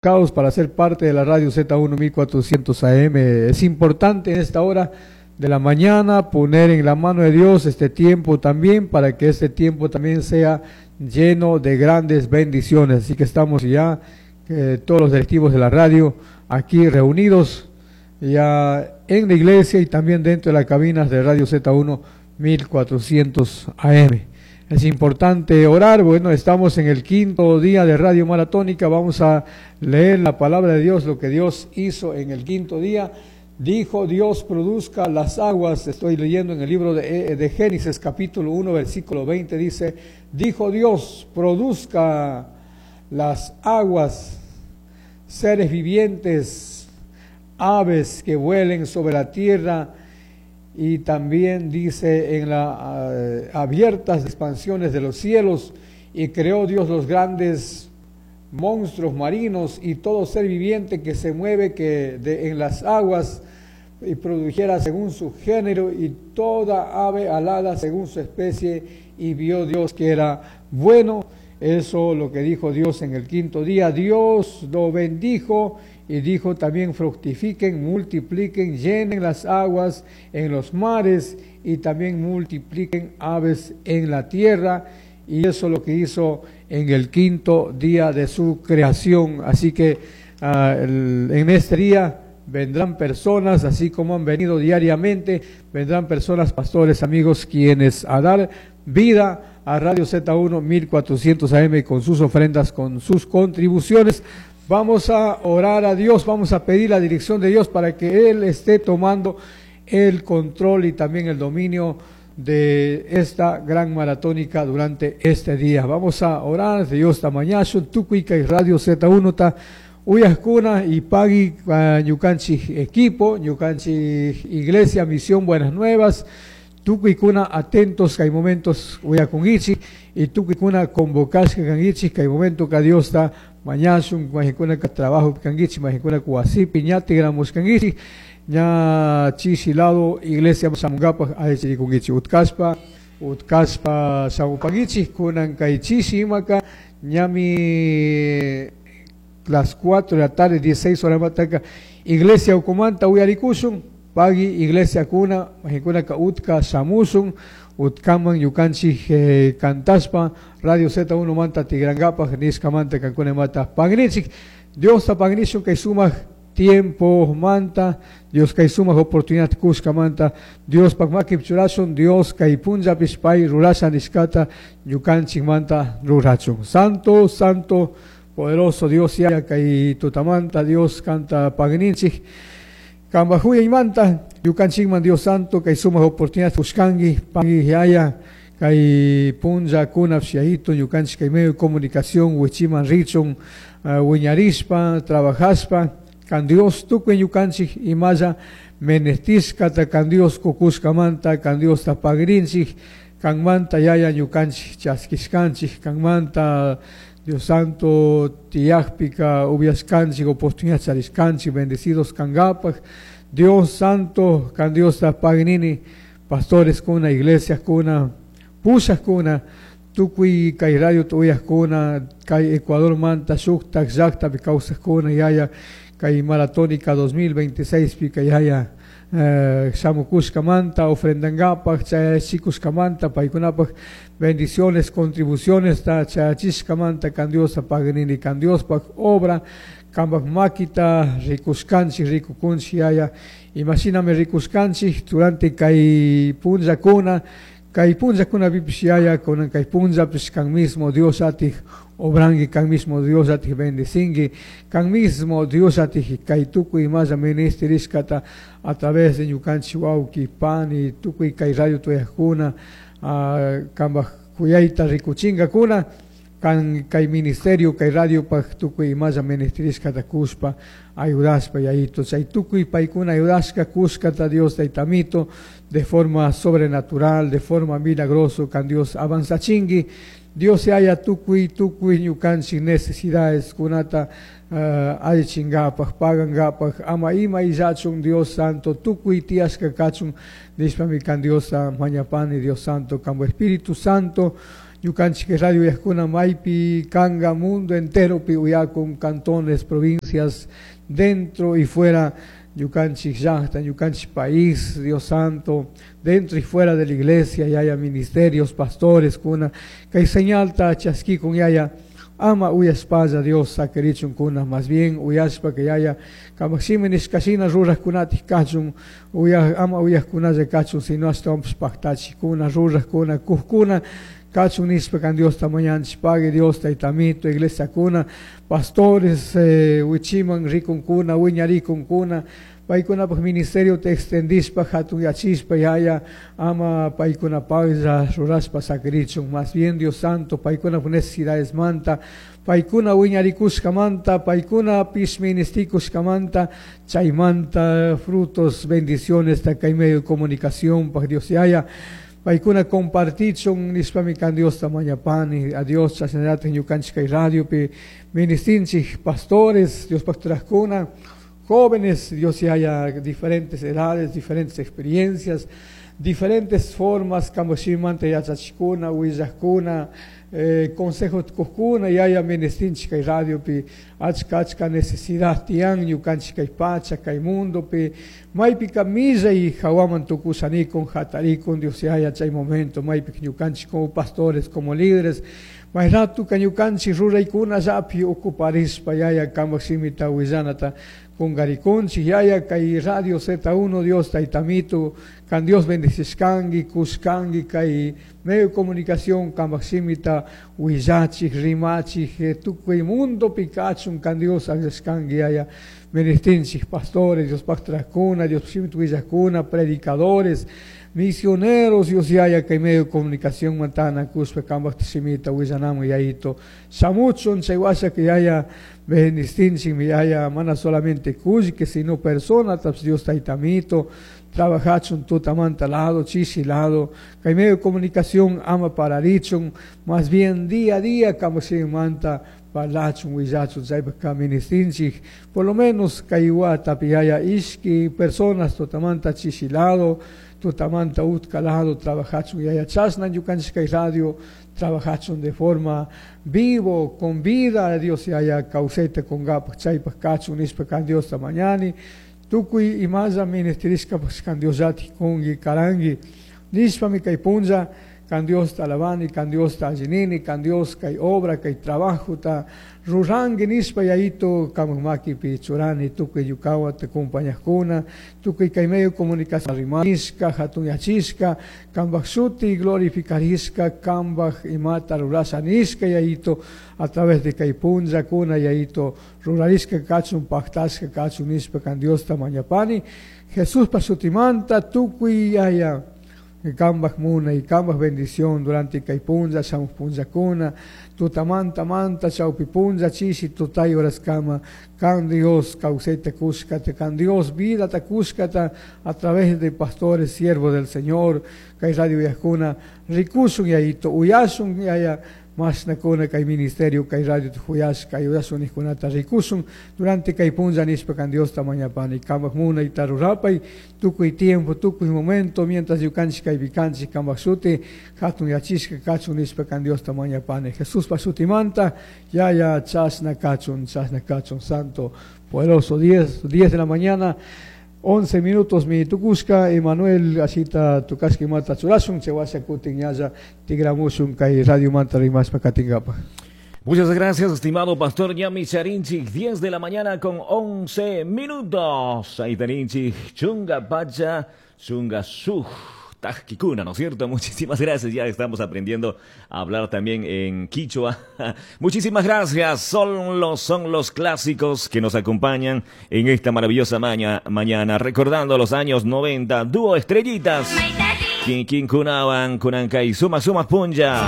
Para ser parte de la radio Z1 1400 AM. Es importante en esta hora de la mañana poner en la mano de Dios este tiempo también para que este tiempo también sea lleno de grandes bendiciones. Así que estamos ya todos los directivos de la radio aquí reunidos ya en la iglesia y también dentro de las cabinas de Radio Z1 1400 AM. Es importante orar. Bueno, estamos en el quinto día de Radio Maratónica. Vamos a leer la palabra de Dios, lo que Dios hizo en el quinto día. Dijo Dios, produzca las aguas. Estoy leyendo en el libro de Génesis, capítulo 1, versículo 20. Dice, dijo Dios, produzca las aguas, seres vivientes, aves que vuelen sobre la tierra. Y también dice en las abiertas expansiones de los cielos, y creó Dios los grandes monstruos marinos y todo ser viviente que se mueve en las aguas, y produjera según su género, y toda ave alada según su especie, y vio Dios que era bueno. Eso lo que dijo Dios en el quinto día. Dios lo bendijo y dijo también: fructifiquen, multipliquen, llenen las aguas en los mares y también multipliquen aves en la tierra. Y eso es lo que hizo en el quinto día de su creación. Así que en este día vendrán personas, así como han venido diariamente, vendrán personas, pastores, amigos, quienes a dar vida a Radio Z1 1400 AM con sus ofrendas, con sus contribuciones. Vamos a orar a Dios, vamos a pedir la dirección de Dios para que Él esté tomando el control y también el dominio de esta gran maratónica durante este día. Vamos a orar, Dios tamañazo, tukuy kay Radio Z1 ta uyajkuna y pagui ñukanchik equipo, ñukanchik iglesia, misión Buenas Nuevas, tukuykuna atentos kay momentos uyakunkichik y tukuykuna convocashka kankichik kay momento ka Dios ta mañashun, mayqankuna ka trabajo kankichik, mayqankuna wasipi ña tigramushkankichik, ña chishi lado iglesia shamunkapaj allichirikunkichik, utkashpa, utkashpa shamupankichik, kunan kay chishi imaka ñami las 4 de la tarde, 16 horas mataka, iglesia ukumanta uyarikushun, pagui iglesia kuna, mayqankuna ka utka shamushun, utkaman ñukanchik kantashpa, Radio Z1 manta tigrankapaj, nishkamanta kankuna mata pagnichik, Dios ta pagnishun kay sumak tiempo manta, Dios kay sumak oportunidad kushkamanta, Dios pak makip churashun, Dios kay punllapish pay rurasha nishkata ñukanchik manta rurachun. Santo, santo, poderoso Dios ya kay tutamanta, Dios kanta pagninchik, kambajuya imanta, ñukanchikman Dios santo, kay sumak oportunidad kushkanki, pagui yaya, kay punlla kunap yayito, ñukanchik kay medio de comunicación, wichiman richun, wiñarishpa, trabajashpa, kan Dios tukuy ñukanchik imalla menestishkata, kan Dios kukushkamanta, kan Dios tapagrinchik, kanmanta yaya ñukanchik chaskishkanchik, kanmanta Dios Santo tiyajpika ubiashkanchik, oportunidad charishkanchik, bendecidos kankapaj, Dios Santo, kan Dios tapagnini, pastores kuna, iglesias kuna, pushas kuna, tukuy kay radio tuyajkuna, kay Ecuador manta shuktak llaktapi kawsajkuna yaya, kay maratónica 2026 pika yaya, shamukushkamanta, ofrendankapaj, chayachikushkamanta, paykunapaj bendiciones, contribuciones, ta chayachishkamanta, kan Dios tapagnini, kan Diospaj obra, kanpak makita rikushkanchik, rikukunchik yaya, imashinami rikushkanchik durante kay punllakuna, kay punllakunapipish yaya, kunan kay punllapish kan mismo Dios atij obranki, kan mismo Dios atij bendecinki, kan mismo Dios atij kay tukuy imalla ministerishkata a través de ñukanchik wawki, pani, tukuy kay radio tuyajkuna, kanpak kuyayta rikuchinkakuna, kan kay ministerio, kay radio paj tukuy imalla ministerishkata kushpa, ayudashpa yayito, chay tukuy paykuna ayudashka kushkata Dios taytamito, de forma sobrenatural, de forma milagroso, kan Dios avanzachinki, Dios haya tukuy, tukuy ñukanchik necesidades kunata allichinkapaj, pagankapaj, ama ima illachun Dios Santo, tukuy tiyashka kachun, nishpami kan Diosta mañapani, Dios Santo, kanpak Espíritu Santo, Ñukanchik radio uyajkuna maypi kanga mundo enteropi uyakun cantones, provincias, dentro y fuera ñukanchik llaqta, ñukanchik país, Dios Santo, dentro y fuera de la iglesia, yaya ministerios, pastores, kuna, kay señalta chaskikun yaya, ama uyashpalla Dios sakirichun kuna, más bien uyashpa que yaya kamak shimi nishkashina rurajkunatik kachun, uya, ama uyajkunalla kachun, sino ashtawanpish paktachikuna, rurajkuna, kujkuna, kachun nishpa kan Diosta mañanchik, pague Dios taytamito, iglesia kuna, pastores, wichiman rikunkuna, wiñarikunkuna, paykunapaj ministerio te extendishpa, hatunyachishpa, yaya, ama paykunapajlla rurashpa sakirichun, más bien Dios Santo, paykunapaj necesidades manta, paykuna wiñarikushkamanta, paykunapish ministikushkamanta, chaymanta frutos, bendiciones, kay medio de comunicación, paj Dios yaya, paykuna compartichun nishpami kan Diosta mañapani, a Dios chashnallata ñukanchik kay radiopi ministinchik pastores, Diospaj churajkuna, jóvenes, Dios yaya, diferentes edades, diferentes experiencias, diferentes formas, kampak shimimanta yachachikuna, willajkuna, consejos kujkuna, yaya ministinchik kay radiopi, achka achka necesidad tiyan ñukanchik kay pacha, kay mundopi, maypika millay hawaman tukushanikun, hatarikun, Dios yaya, chay momento, maypika ñukanchik como pastores, como líderes, may ratuka ñukanchik ruraykunallapi ocuparishpa, yaya, kampak shimita willanata kungarikunchik, yaya, kay Radio Z1, Dios taytamito, kan Dios bendicishkanki, kushkanki, kay medio de comunicación, kampak shimita willachik, rimachik, tukuy mundopi kachun, kan Dios akllashkanki, yaya, ministinchik pastores, Diospaj churajkuna, Dios shimita willajkuna, predicadores, misioneros, Dios yaya, kay medio de comunicación mantanakushpa, kampak shimita willanamun, yayito, shamuchun, chay washa que yaya, bendistinchik, mi yaya, mana solamente kullki, sino persona, taps Dios taytamito, trabajachun tutamanta lado, chishi lado, kay medio de comunicación ama pararichun, más bien día a día, kampak shimimanta parlachun, willachun, chaypaj ministinchik, por lo menos kay watapi yaya ishki personas tutamanta chishi lado, tutamanta utka lado, trabajachun yaya chashna ñukanchik kay radio, trabajachun de forma vivo, con vida, Dios yaya kawsayta kunkapaj, chaypaj kachun nishpa kan Diosta mañani, tukuy imalla ministerishkapash kan Diosllatik kunki, karanki, nishpami kay punlla, kan Diosta alabani, kan Diosta allinini, kan Dios kay obra, kay trabajota ruranki nishpa yayito kamak makipi churani, tukuy ñukawan acompañajkuna, tukuy kay medio de comunicación rimashka, hatunyachishka, kambaj shuti glorificarishka, kambaj imata rurasha nishka yayito, a través de kay punllakuna yayito rurarishka kachun, paktashka kachun nishpa kan Diosta mañapani, Jesuspa shutimanta tukuy yaya, kambaj munay, kambaj bendición durante kay punlla, shamuj punllakuna, tutamanta manta, chawpi punlla, chishi, tutay horaskama, kan Dios kawsayta kushkata, kan Dios vidata kushkata, a través de pastores, siervos del Señor, kay radio uyajkuna, rikushun yayito, uyashun yaya, mashnakuna kay ministerio, kay radio tuyashka, kay uyashun nijkunata rikushun, durante kay punlla nishpa kan Diosta mañapani, kambaj munayta rurapay, tukuy tiempo, tukuy momento, mientras ñukanchik kaypi kanchik, kambaj shuti, hatun yachishka kachun nishpa kan Diosta mañapani, Jesuspa shutimanta, yaya chashna kachun, chashna kachun, santo, poderoso, 10 de la mañana, 11 minutos mi tukushka, Emanuel asita tukashka imata churashun, chawasha kutin yaya tigramushun kay radio manta rimashpa katingapa. Muchas gracias, estimado pastor Ñami Charinchik. 10 de la mañana con 11 minutos. Ahí Tarinchik, chunga pacha, chunga suj. Tajkikuna, ¿no es cierto? Muchísimas gracias. Ya estamos aprendiendo a hablar también en quichua. Muchísimas gracias. Son los clásicos que nos acompañan en esta maravillosa mañana. Recordando los años 90. Dúo Estrellitas. Quin, quin, kunawan, kunankai, suma, suma, punja.